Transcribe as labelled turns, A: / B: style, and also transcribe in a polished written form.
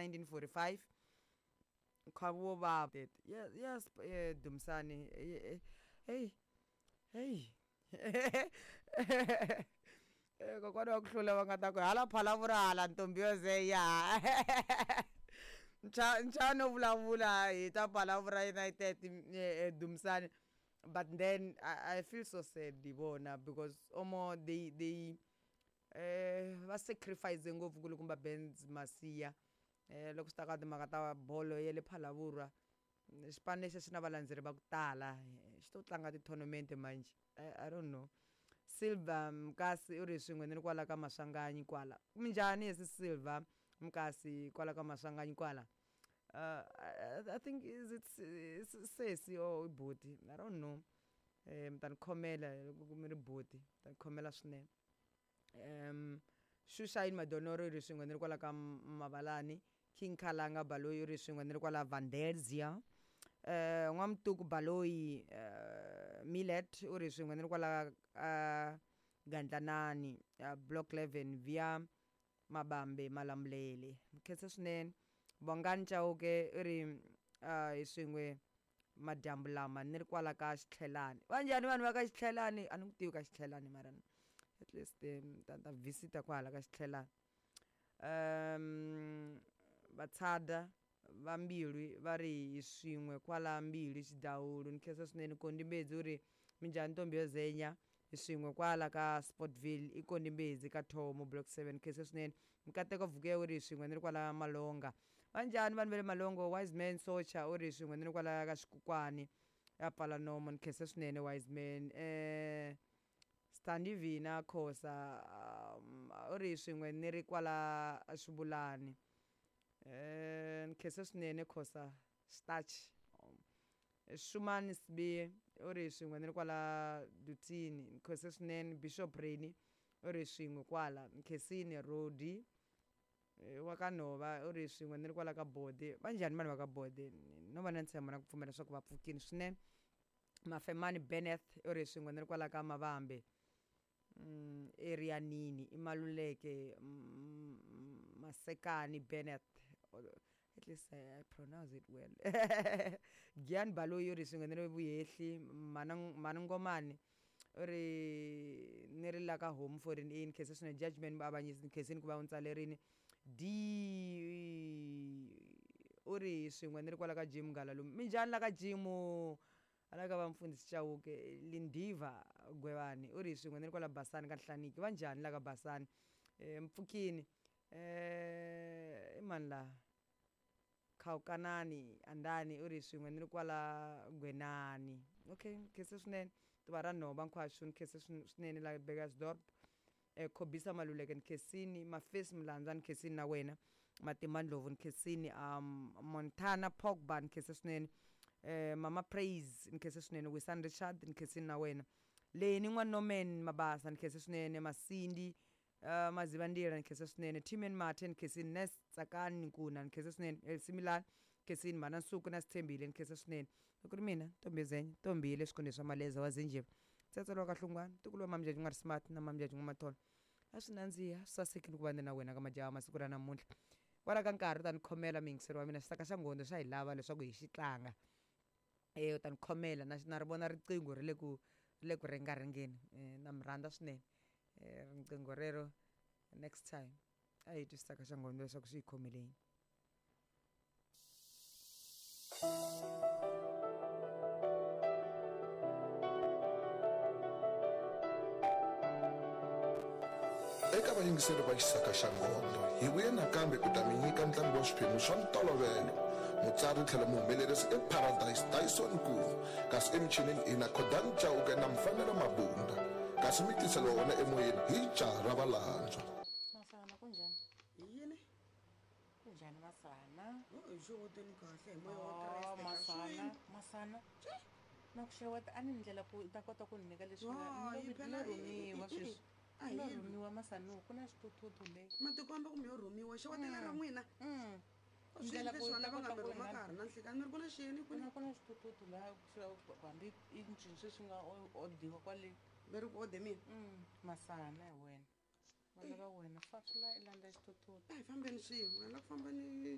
A: 1945 nkhavu wo vava yes, yes Dumisani, hey hey Kokwana wa ku hlula va nga ta ku hala Phalavura hala ntombi yo zeya nchano vulavula hi ta Phalavura United, Dumisani. But then I feel so sad hi vona because omo they va sacrifice ngopfu kulukumba Benz Masiya loko swi ta ka timhaka ta bolo ya le Phalavura. Xipano lexi xi na valandzeri va ku tala, xi to tlanga ti-tournament manjhe. I don't know. Silva Mkasi u ri swin'we ni ri kwala ka Maswanganyi kwala. Minjhani yesi Silva Mkasi kwala ka Maswanganyi kwala? I think is it sesi or i buti, I don't know. Mi ta ni khomela loko mi ri buti, mi ta ni khomela swinene. Xuxayini Madonoro u ri swin'we ni ri kwala ka Mavalani. King Khalanga Baloyi u ri swin'we ni ri kwala Vandelzia. N'wamutuku Baloyi Millet u ri swin'we ni ri kwala Gandlanani, Block 11 via Mabambe Malamulele. Khensa swinene. Bongani Chauke u ri hi swin'we madyambu lama ni ri kwala ka Xitlhelani. Va njhani vanhu va ka Xitlhelani? A ni ku tivi ka Xitlhelani mara at least ta visita kwahala ka Xitlhelani. Vatshada va Mbilwi va ri hi swin'we kwala Mbilwi Xidawulu. Ni khensa swinene. Kondi Mbedzi u ri minjhani ntombi yo zenya, hi swin'we kwala ka Sportville. I Kondi Mbedzi ka Thomo Block 7. Khensa swinene. Mikateko Vuke u ri hi swin'we ni ri kwala Malonga. Va njhani vanhu va le Malongo? Wise Man Socha u ri hi swin'we ni ri kwala ka Xikukwani ya pfala nomo. Ni khensa swinene Wise Man. Standi Vina Khosa u ri hi swin'we ni ri kwala Xivulani. Ni khensa swinene Khosa Starch. Shumani Sibiye u ri hi swin'we ni ri kwala Dutini. Ni khensa swinene. Bishop Reni u ri hi swin'we kwala Nkhensini. Rodi wa ka Nhova u ri hi swin'we ni ri kwala ka Bode. Va njhani vanhu va ka Bode? No va na ntshembo na ku pfumela leswaku va pfukile swinene. Mafemani Benneth u ri hi swin'we ni ri kwala ka Mavambe, area nini i Maluleke Masekani Benneth. At least I pronounce it well. Gian Baloyi u ri swin'we ni ri Vuhehli. Mhani Ngomani u ri ni ri la ka Home Foreign A. Ni khensa swinene. Judgment Muavanyisi, ni khensini ku va u ni tsalerini. D u ri swin'we ni ri kwala ka Jim Ngalalume. Minjhani la ka Jim? Ala ka va mfundhisi Chauke. Lindiva Gwevani u ri swin'we ni ri kwala Basani ka Nhlaniki. Va njhani la ka Basani? Mpfukini. I mani la? Khawukanani Andani u ri swin'we ni ri kwala Gwenani. Okay, khensa swinene. Tuva ra Nhova Nkhwaxu, ni khensa swinene la Burgersdorp. Khobisa Maluleke ni khensini. Mafesi Mulandza ni khensini na wena. Matimba Ndlovu ni khensini. Montana Pogba ni khensa swinene. Mama Praise ni khensa swinene. Wisan Richard ni khensini na wena. Leni N'wa Norman Mabasa ni khensa swinene. Masindi Mazivandila ni khensa swinene. Timen Mathe ni khensini. Nes Tsakani Nkuna ni khensa swinene. Elsie Milan khensini. Mhana Nsuku na Sithembile ni khensa swinene. Loko ri mina ntombi Zenya, ntombi le swikhundleni swa Maleza wa Zinjeva. Tsetselo wa ka Hlungwana, ntukulu wa Mamjaji N'wa Smart na Mamjaji N'wa Matholo. A swi nandziha, swi sasekile ku va ni na wena ka majaha masiku ra namuntlha. Kwala ka nkarhi u ta ni khomela muyingiseri wa mina, xisaka xa nghondo xa hi lava leswaku hi xi tlanga. U ta ni khomela na na ri vona riqingho ri le ku ri le ku ringaringeni. Na mi rhandza swinene. Riqingho rero next time a hi twi xisaka xa nghondo leswaku xi hi khomele yini.
B: Eka vayingiseri va Xisaka xa Nghondo, hi vuye nakambe ku ta mi nyika ntlangu wa swiphemu swa ntolovelo. Mutsari tlhelo muhumelerisi i Paradise Dyson Nkuva, kasi emichinini hi na Khodani Chauke na Mfanelo Mabunda, kasi mi tiseriwa wona emoyeni hi Jaha ra Valandzwa.
C: Masana, kunjhani?
D: Hi yini?
C: Kunjhani Masana?
D: Oh, hi xeweteni kahle hi moya wa
C: Oh,
D: Kreste ka
C: Masana,
D: swini.
C: Masana. Na ku xeweta a ni ndlela ku u ta kota ku ni nyika leswi nga
D: Hayi,
C: ni lo
D: phela
C: ni lo rhumiwa sweswi.
D: a hi
C: Ni lo
D: lwi.
C: rhumiwa Masana, ku na xithuthuthu le.
D: Matikomba kumbe yo rhumiwa xewetela ra n'wina. Swi
C: Ndlela
D: endle
C: ku u
D: swona
C: ta
D: va nga
C: kota
D: mi
C: ku
D: rhuma
C: na
D: ka ha ri na nhlikani mi ri ku na xiyeni
C: ku
D: kwini?
C: na ku na xithuthuthu laha hambi i ncini sweswi nga odiwa kwale.
D: Mi ri ku ode mina?
C: Masana hi wena. Va lava wena fafula i landza xithuthuthu.
D: A hi fambeni swin'we, la ku famba ni.